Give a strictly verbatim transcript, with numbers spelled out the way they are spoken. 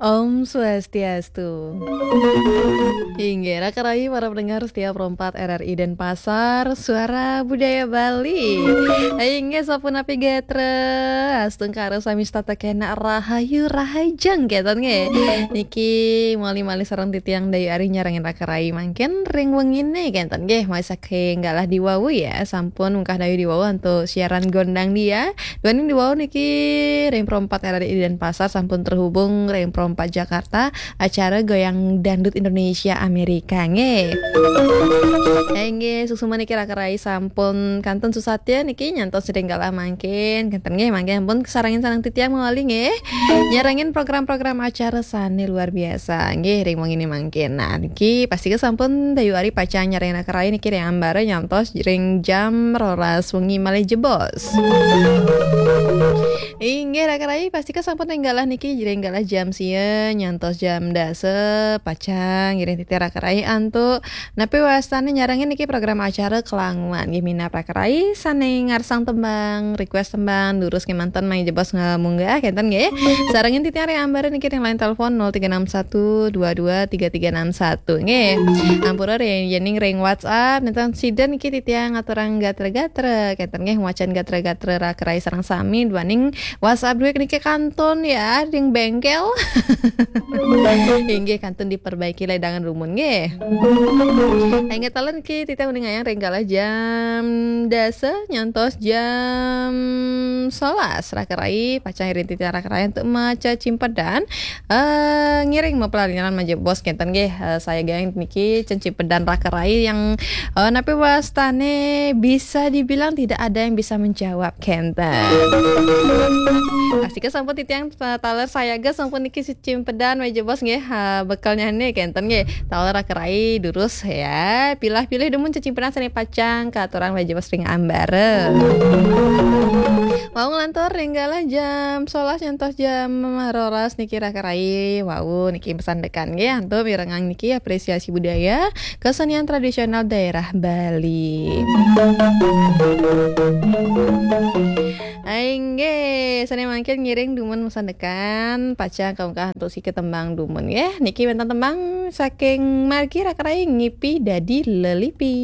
Om Swastiastu. Inggih, raka rayi para pendengar setia Pro empat R R I Denpasar, Suara Budaya Bali. Inggih, sapunapi gatra, astungkara sami setata kena rahayu rahajeng kenten nggih. Niki malih-malih sareng titiang Dayu Ari nyarengin raka rayi mangkin ring wengine kenten nggih, malih saking galah diwawu ya, sampun mungkah dayu diwawu antuk siaran gondang dia. Duaning diwawu niki ring Pro empat R R I Denpasar sampun terhubung ring Pro empat Jakarta, acara Goyang Dangdut Indonesia Amerika nggih. Inggih, suksma niki raka rayi sampun kantun susatya niki nyantos ring galah mangkin. Kenten nggih, mangkin ampun sarengin sareng titiang malih nggih. Nyarengin program-program acara sane luar biasa nggih ring wengine mangkin. Nah, niki pastika sampun Dayu Ari pacang nyarengin raka rayi niki ring ambara nyantos ring jam rolas wengi malih jebos. Inggih raka rayi, pastika sampun ring galah niki ring galah jam sia nyantos jam dasa pacang ngiring titiang raka rayi antuk napi wastane nyarengin niki program acara Kelanguan nggih minab raka rayi sane ngarsang tembang, request tembang, durus kemanten malih jebos ngemunggah kenten nggih. Sarengin titiang ring ambara niki ring line telepon nol tiga enam satu dua dua tiga tiga enam satu nggih. Ampura ring yening ring WhatsApp nenten sida niki titiang ngaturang gatra-gatra kenten nggih, macan gatra-gatra raka rayi sareng sami duaning WhatsApp duit niki kantun ya ring bengkel. Inggih kantun diperbaiki ledangan rumun nggih. Inggih taler niki titiang uning ayang ring galah jam dasa nyantos jam sebelas raka rayi pacang ngiring titiang raka rayi antuk maca cimpedan, eh, ngiring mapalalinan malih jebos kenten nggih. Eh, sayaga niki cen cimpedan raka rayi yang, eh, napi wastane bisa dibilang tidak ada yang bisa menjawab kenten. Pastika sampun titiang, eh, taler sayaga sampun niki cimpedan malih jebos nggih, ha, bekelnyane kenten nggih. Taler raka rayi durus ya. Pilah-pilih dumun cimpedan sane pacang katurang malih jebos ring ambara. Wau nglantur ring galah jam sebelas nyantos jam rolas niki raka rayi. Wau niki pesan dekan nggih antuk mirengang niki apresiasi budaya kesenian tradisional daerah Bali. Inggih, sane mangkin ngiring dumun pesan dekan pacang kaungkah antuk siki tembang dumun nggih. Niki wenten tembang saking margi raka rayi Ngipi Dadi Lelipi.